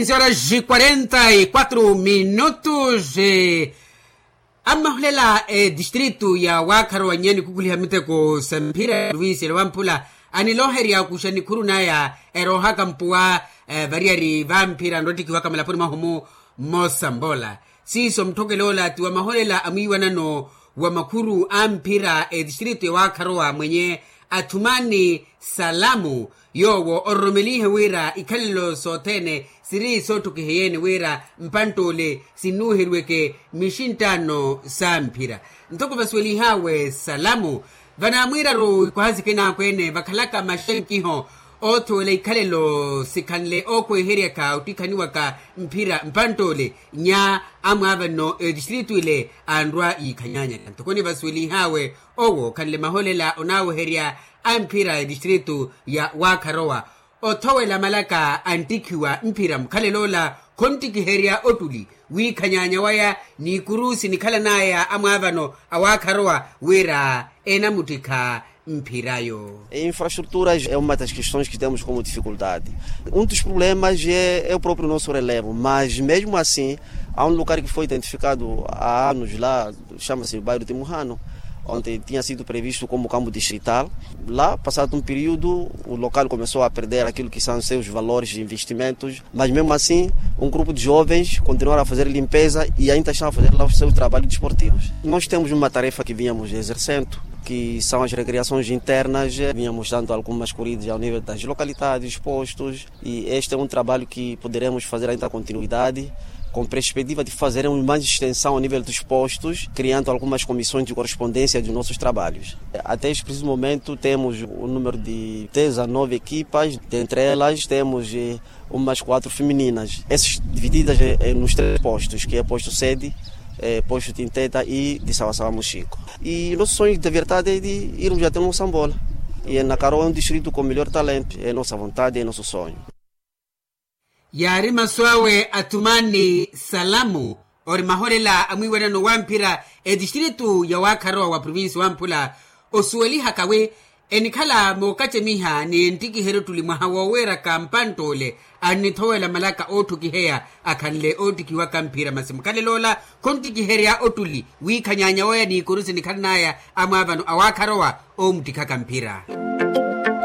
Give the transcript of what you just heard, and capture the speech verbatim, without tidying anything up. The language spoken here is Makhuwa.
Cinco horas quarenta y quatro minutos. Ammahulela etistritu ya waakharowa nnyani kukhuliha miteko sa mphira ya provincia ya wamphula, aniloherya kuxa nikhuru naya eroohaka mpuwa variyari vamphira nrottikhiwaka malapuni mwahumu. Mmosa mbola siiso mutthokele ola ti wa maholela a mwiiwanano wa makhuru a mphira etistritu ya waakharowa mwenye athumani salamu, yoowo ororomelihe wira ikhalelo sothene siri sootthukiheyeene wira mpantt'ole sinnuuheriweke mixinttaano sa mphira. Ntoko vasuwelihawe salamu, vanaamwiiraru ikwaha sikinaakweene vakhalaka maxenkiho oothowela ikhalelo sikhanle ookweheryaka ottikhaniwaka mphira mpantt'ole nya amwaavano etistritu ile anrwa yiikhanyanyaka ntoko nivasuwelihawe owo khanle maholela onaaweherya a mphira etistritu ya waakharowa othowela malaka anttikhiwa mphira mukhalelo ola. Khonttikiherya ottuli wiikhanyanya waya n'ikuru sinikhalanaya amwaavano a waakharowa wira enamuttikha mphirayo. Infrastruturas é uma das questões que temos como dificuldade. Um dos problemas é o próprio nosso relevo mas mesmo assim há um lugar que foi identificado há anos lá, chama-se bairro de Muhano, onde tinha sido previsto como campo distrital. Lá passado um período o local começou a perder aquilo que são seus valores de investimentos. Mas mesmo assim um grupo de jovens continuaram a fazer limpeza e ainda estão a fazer lá o seu trabalho desportivo. Nós temos uma tarefa que vínhamos exercendo, que são as recreações internas, vínhamos dando algumas corridas ao nível das localidades, postos. E este é um trabalho que poderemos fazer ainda a continuidade com perspectiva de fazermos mais extensão ao nível dos postos, criando algumas comissões de correspondência dos nossos trabalhos. Até este preciso momento temos o número de dezanove equipas, dentre elas temos umas quatro femininas, essas divididas nos três postos, que é posto sede, posto tinteta e de sawasawa muxico. E nosso sonho de verdade é de irmos até mosambola. E na karowa é um distrito com melhor talento, é nossa vontade, é nosso sonho. Yaari masu awe athumani salamu ori maholela a mwiiwanano wa mphira etistritu ya waakharowa wa provinsi wa mphula osuwelihaka wi enikhala mookacemiha ni enttikiherya ottuli mwaha wooweeraka mpantt'ole annithowela malaka ootthukiheya akhanle ootthikiwaka mphira masi mukhalelo ola khonttikiherya ottuli wiikhanyanya waya n'ikuru sinikhalanaya amwaavano a waakharowa oomuttikhaka mphira.